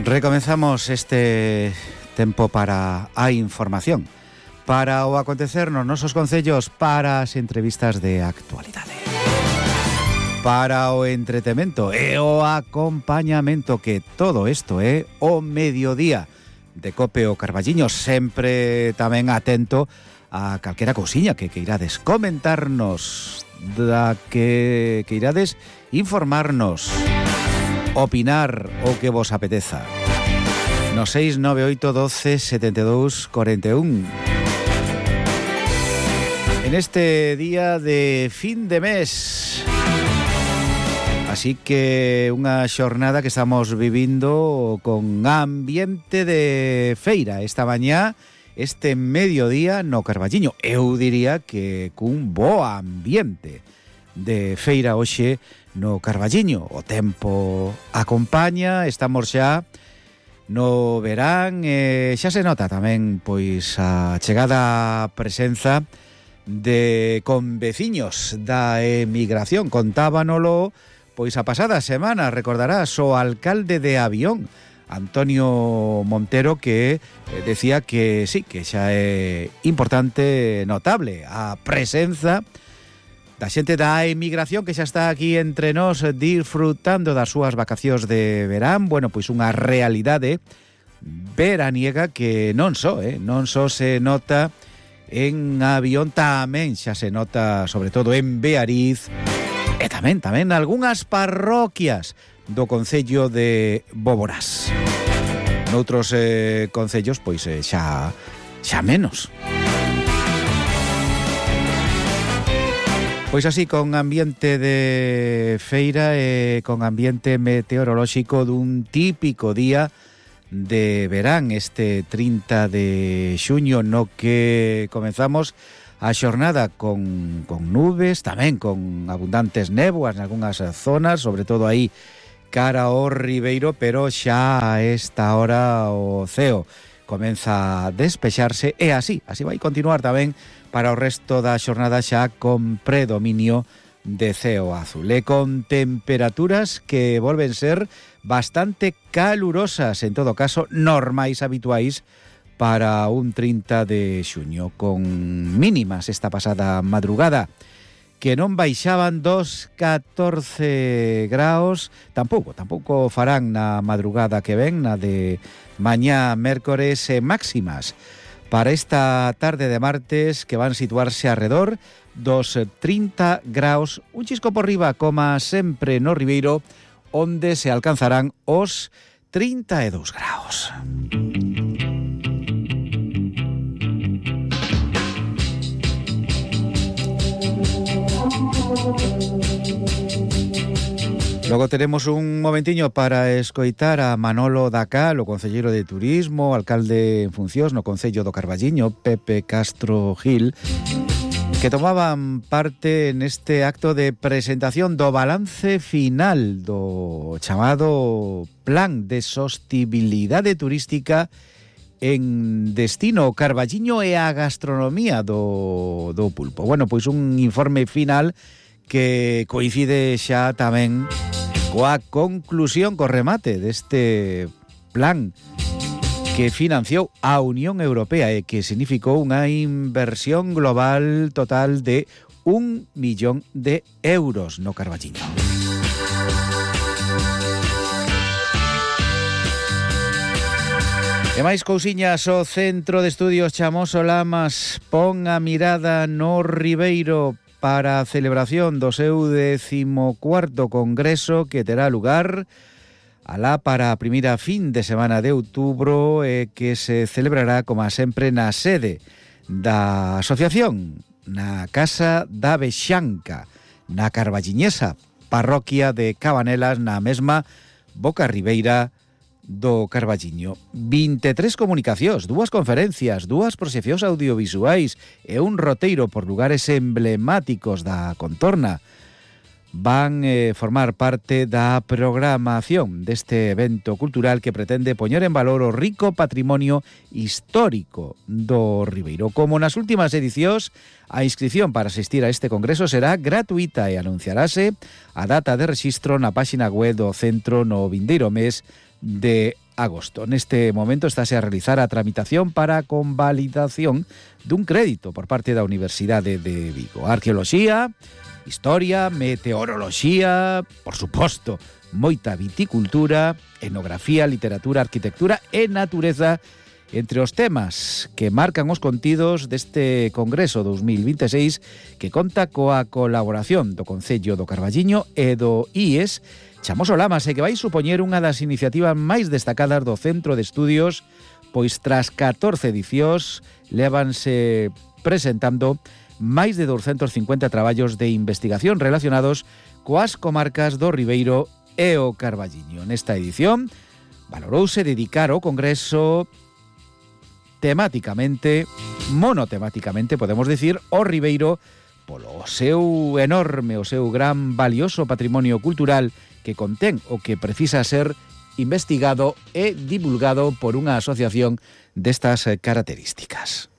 Recomenzamos este tempo para a información, para o acontecer nos nosos concellos, para as entrevistas de actualidade, para o entretemento e o acompañamento, que todo isto é o mediodía de Cope o Carballiño, sempre tamén atento a calquera cousiña que queirades comentarnos, da que queirades informarnos, opinar o que vos apeteza. No 698 12 72 41. En este día de fin de mes, así que unha xornada que estamos vivindo con ambiente de feira esta mañá, este mediodía no Carballiño. Eu diría que cun bo ambiente de feira hoxe no Carballiño. O tempo acompaña, estamos xa no verán, xa se nota tamén pois a chegada presenza de conveciños da emigración. Contábanolo pois a pasada semana, recordarás, o alcalde de Avión, Antonio Montero, que decía que sí, que xa é importante, notable a presenza da xente da emigración que xa está aquí entre nós disfrutando das súas vacacións de verán. Bueno, pois unha realidade veraniega que non só se nota en Avión, tamén xa se nota sobre todo en Beariz e tamén algunhas parroquias do concello de Boborás. Noutros concellos pois xa menos. Pois así, con ambiente de feira e con ambiente meteorolóxico dun típico día de verán, este 30 de xuño, no que comenzamos a xornada con nubes, tamén con abundantes néboas en algunhas zonas, sobre todo aí cara ao Ribeiro, pero xa a esta hora o ceo comeza a despexarse e así vai continuar tamén para o resto da xornada, xa con predominio de ceo azul e con temperaturas que volven ser bastante calurosas, en todo caso normais, habituais para un 30 de xuño, con mínimas esta pasada madrugada que non baixaban dos 14 graus, tampouco farán na madrugada que ven, na de mañá mércores, máximas para esta tarde de martes que van situarse alrededor dos 30 graus, un chisco por riba, como sempre no Ribeiro, onde se alcanzarán os 32 graus. Logo teremos un momentiño para escoitar a Manolo Dacal, o concelleiro de Turismo, alcalde en funcións no concello do Carballiño, Pepe Castro Gil, que tomaban parte neste acto de presentación do balance final do chamado Plan de Sostibilidade Turística en destino Carballiño e a gastronomía do pulpo. Bueno, pois un informe final que coincide xa tamén coa conclusión, co remate deste plan que financiou a Unión Europea e que significou unha inversión global total de 1 millón de euros no Carballiño. E máis cousiñas, o Centro de Estudios Chamoso Lamas pon a mirada no Ribeiro para a celebración do seu 14º congreso, que terá lugar alá para a primeira fin de semana de outubro, e que se celebrará, como sempre, na sede da asociación, na Casa da Vexanca, na Carballiñesa, parroquia de Cabanelas, na mesma boca ribeira do Carballiño. 23 comunicacións, 2 conferencias, 2 proxeccións audiovisuais e un roteiro por lugares emblemáticos da contorna van formar parte da programación deste evento cultural que pretende poñer en valor o rico patrimonio histórico do Ribeiro. Como nas últimas edicións, a inscripción para asistir a este congreso será gratuita e anunciarase a data de rexistro na páxina web do centro no vindeiro mes de agosto. Neste momento estáse a realizar a tramitación para a convalidación dun crédito por parte da Universidade de Vigo. Arqueoloxía, historia, meteoroloxía, por suposto, moita viticultura, etnografía, literatura, arquitectura e natureza, entre os temas que marcan os contidos deste Congreso 2026 que conta coa colaboración do Concello do Carballiño e do IES Chamoso Lamas e que vai supoñer unha das iniciativas máis destacadas do Centro de Estudios, pois tras 14 edicións lévanse presentando máis de 250 traballos de investigación relacionados coas comarcas do Ribeiro e o Carballiño. Nesta edición valorouse dedicar o Congreso temáticamente, monotemáticamente, podemos dicir, o Ribeiro polo seu enorme, o seu gran valioso patrimonio cultural que contén o que precisa ser investigado e divulgado por unha asociación destas características.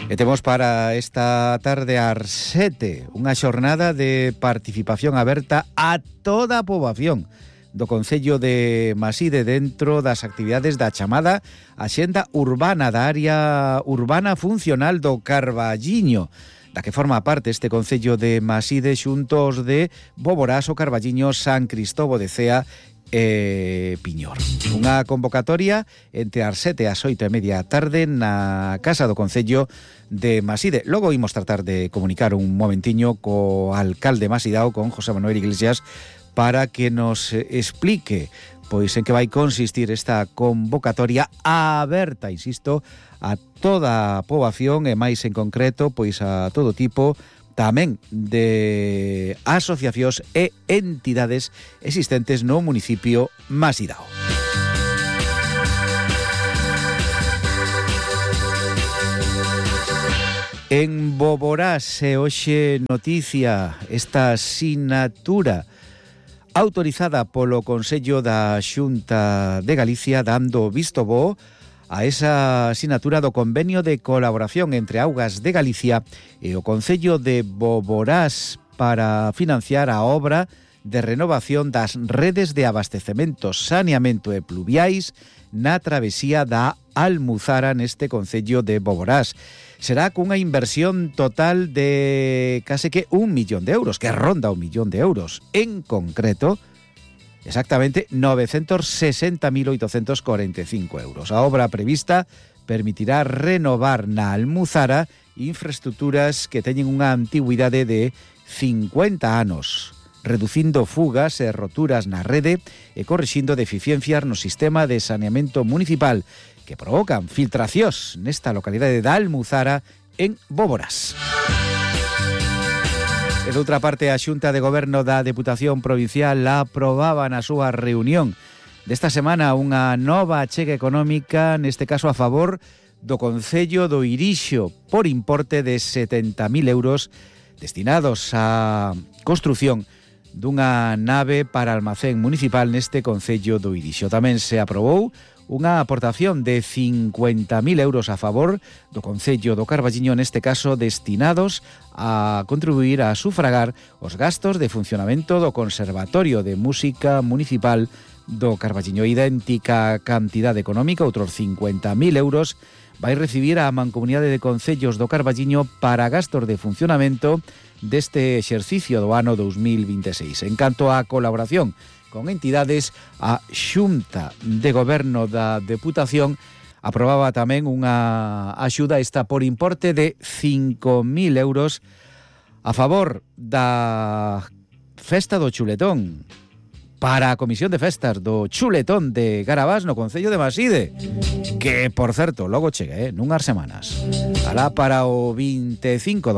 E temos para esta tarde ás 7 unha xornada de participación aberta a toda a poboación do Concello de Maside dentro das actividades da chamada Axenda Urbana da área urbana funcional do Carballiño, da que forma parte este Concello de Maside xuntos de Boborás, o Carballiño, San Cristobo de Cea e Piñor. Unha convocatoria entre as 7 e as 8:30 da tarde na Casa do Concello de Maside. Logo imos tratar de comunicar un momentiño co alcalde masidao, con José Manuel Iglesias, para que nos explique pois en que vai consistir esta convocatoria aberta, insisto, a toda a poboación e máis en concreto pois a todo tipo tamén de asociacións e entidades existentes no municipio masidao. En Boborás se hoxe noticia esta sinatura autorizada polo Consello da Xunta de Galicia, dando visto bo a esa sinatura do convenio de colaboración entre Augas de Galicia e o Concello de Boborás para financiar a obra de renovación das redes de abastecemento, saneamento e pluviais na travesía da Almuzara neste Concello de Boborás. Será cunha inversión total de case que 1 millón de euros, que ronda 1 millón de euros. En concreto, exactamente 960.845 euros. A obra prevista permitirá renovar na Almuzara infraestructuras que teñen unha antigüidade de 50 anos, reducindo fugas e roturas na rede e corrixindo deficiencias no sistema de saneamento municipal que provocan filtracións nesta localidade da Almuzara en Boborás. E doutra parte, a Xunta de Goberno da Deputación Provincial aprobaba na súa reunión desta semana unha nova achega económica, neste caso a favor do Concello do Irixo, por importe de 70.000 euros destinados á construción dunha nave para almacén municipal neste Concello do Irixo. Tamén se aprobou unha aportación de 50.000 euros a favor do Concello do Carballiño, neste caso destinados a contribuir a sufragar os gastos de funcionamento do Conservatorio de Música Municipal do Carballiño. Idéntica cantidade económica, outros 50.000 euros, vai recibir a Mancomunidade de Concellos do Carballiño para gastos de funcionamento deste exercicio do ano 2026. En canto á colaboración con entidades, a Xunta de Goberno da Deputación aprobaba tamén unha axuda esta por importe de 5.000 euros a favor da Festa do Chuletón, para a Comisión de Festas do Chuletón de Garabás no Concello de Maside, que, por certo, logo chega, nunhas semanas. Alá para o 25